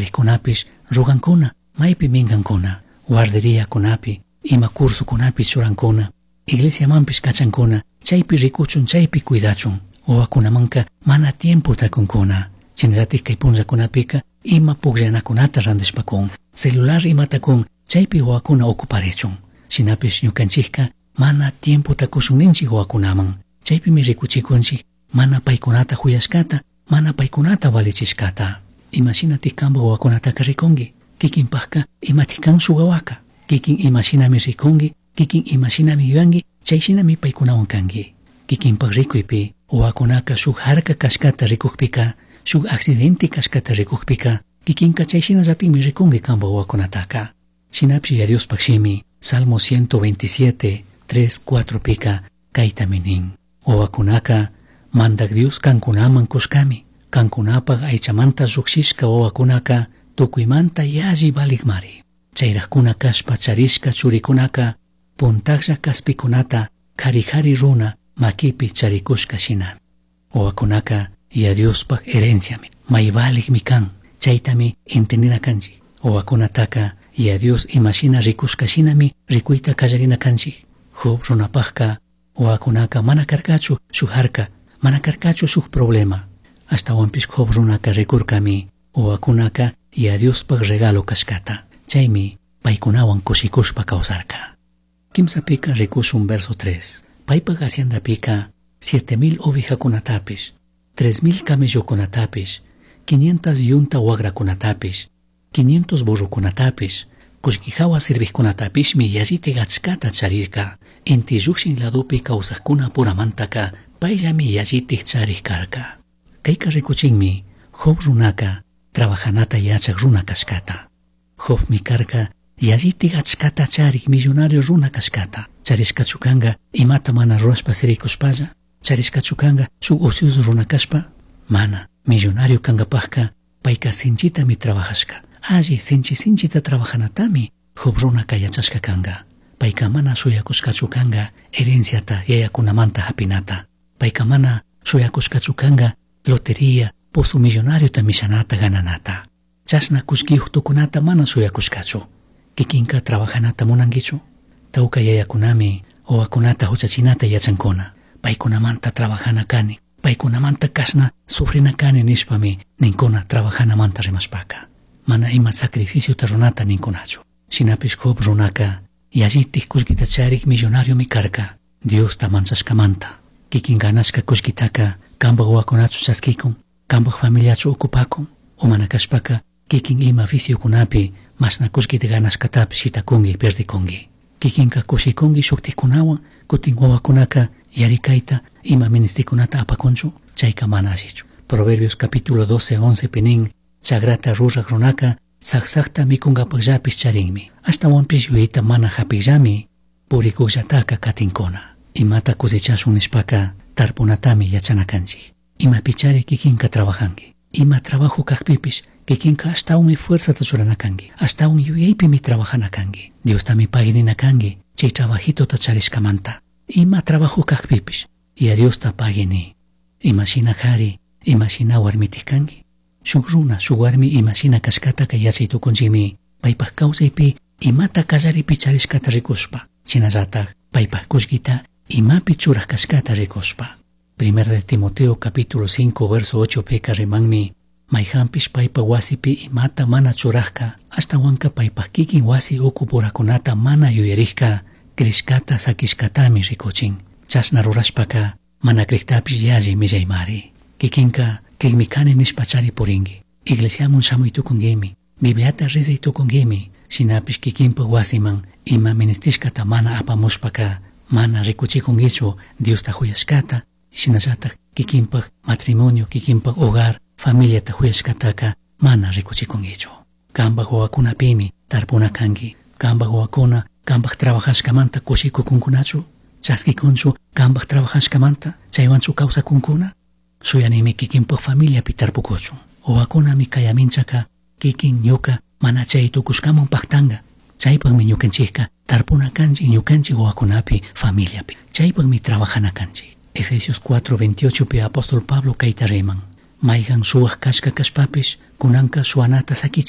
Charijkunapish rugankuna, maypi minkankuna, guarderiakunapi, ima cursokunapi churankuna, iglesiamanpish kachankuna, chaypi rikuchun, chaypi cuidachun. Wawakunamanka mana tiempota kunkuna. Shinallatik kay punllakunapika ima pukllanakunata randishpa kun, celular imata kun, chaypi wawakuna ocuparichun. Shinapish ñukanchikka mana tiempota kushun ninchik wawakunaman. Chaypimi rikuchikunchik mana paykunata huyashkata, mana paykunata valichishkata. Imashinatik kanpak wawakunataka rikunki? Kikinpakka imatik kan shuk wawaka? Kikin imashinami rikunki, kikin imashinami yuyanki, chayshinami paykunawan kanki. Kikinpak rikuypi wawakunaka shuk harka kashkata rikukpika, shuk accidente kashkata rikukpika, kikinka chayshinallatikmi rikunki kanpak wawakunataka. Shinapish Yaya Diospaj shimi, Salmo 127, 3, 4 pika kaytami nin. Wawakunaka Mandak Dios kankunaman kushkami. Kankunapaj aychamanta llujshishka wawakunaka tukuymanta yalli valikmari. Chayrajkuna kashpa charishka churikunaka puntajlla kaspikunata jari jari runa makipi charikushka shinami. Wawakunaka Yaya Diospaj herenciami, may valikmi kan, chaytami entendina kanchik. Wawakunataka Yaya Dios imashina rikushka shinami rikuyta kallarina kanchik. Job runapajka wawakunaka mana karkachu shuk harka, mana karkachu shuk problema. Ashtawanpish Job runaka rikurkami wawakunaka Yaya Diospaj regalo kashkata. Chaymi paykunawan kushikushpa kawsarka. Kimsapika rikushun verso 3. Paypaj haciendapika 7000 ovejakunatapish, 3000 camellokunatapish, 500 yunta wagrakunatapish, 500 burrokunatapish, kullki jawa sirvijkunatapishmi yallitik achkata charirka. Inti llukshin ladopi kawsajkuna puramantaka payllami yallitik charik karka. Kayka rikuchinmi Job runaka trabajanata yachak runa kashkata. Jobmi karka yallitik achkata charik millonario runa kashkata. Charishkachu kanga imata mana rurashpa sirikushpalla? Charishkachu kanga shuk ocioso runa kashpa? Mana, millonario kankapajka payka sinchitami trabajashka. Alli sinchi sinchita trabajanatami Job runaka yachashka kanga. Payka mana shuyakushkachu kanga herenciata yayakunamanta hapinata. Payka mana shuyakushkachu kanga lotería, pozo millonariota mishanata gananata. Chashna kullkiyuq tukunata mana shuyakushkachu. Kikinka trabajanata munankichu? Tawka yayakunami wawakunata huchachinata yachankuna. Paykunamanta trabajana kani, paykunamanta kashna sufrina kani nishpami ninkuna trabajanamanta rimashpaka. Mana ima sacrificiota runata ninkunachu. Shinapish Job runaka yallitik kullkita charik millonariomi karka. Diosta manchashkamanta. Kikin ganashka kullkitaka kanpak wawakunachu chaskikun, kanpak familiachu ocupakun, o mana kashpaka kikin ima viciokunapi mashna kullkita ganashkatapish shitakunki perdikunki. Kikinka kushikunki shuktikunawan, kutin wawakunaka yarikayta ima ministikunata apakunchu, chayka mana allichu. Proverbios capítulo 12, 11 pi nin, chagrata ruraq runaka saksakta mikunkapaqllapish charinmi. Ashtawanpish yuyayta mana hapikllami purikuqllataka katinkuna. Imata cosechashun nishpaka tarpunatami yachana kanchik. Imapichari kikinka trabajanki. Ima trabajo kakpipish kikinka ashtawanmi fuerzata churana kanki. Ashtawan yuyaypimi trabajana kanki. Diostami paginina kanki chay trabajitota charishkamanta. Ima trabajo kakpipish Yaya Diosta pagini. Imashina kari, imashina warmitik kanki. Shuk runa, shuk warmi imashina kashkataka yachay tukunchikmi. Paypaj kawsaypi imata kallaripi charishkata rikushpa. Shinallatak paypaj kullkita imapi churaj kashkata rikushpa. Primer de Timoteo capítulo 5 verso 8 pika rimanmi mayjanpish paypa wasipi imata mana churajka ashtawanka paypaj kikin wasi uku purakunata mana yuyarijka crishkata sakishkatami rikuchin. Chashna rurashpaka mana criktapish yalli millaymari. Kikinka crikmi kani nishpa chari purinki. Iglesiamun shamuy tukunkimi, Bibliata rezay tukunkimi, shinapish kikinpa wasiman ima ministishkata mana apamushpaka mana rikuchikunkichu Diosta huyashkata, shinallatak kikinpak matrimonio, kikinpak hogar, familiata huyashkataka mana rikuchikunkichu. Kanpak wawakunapimi tarpuna kanki. Kanpak wawakuna kanpak trabajashkamanta kushikukunkunachu, chaskikunchu kanpak trabajashkamanta, chaywanchu kawsakunkuna. Shuyanimi kikinpak familiapi tarpukuchun. Wawakunami kayaminchaka kikin ñuka mana chay tukushkaman paktanga. Chaypakmi ñukanchikka tarpuna kanchik ñukanchik wawakunapi familiapi. Chaypakmi trabajana kanchik. Efesios 4:28 pi apóstol Pablo kayta riman. Mayhan suwak kashka kashpapish kunanka suwanata sakichik.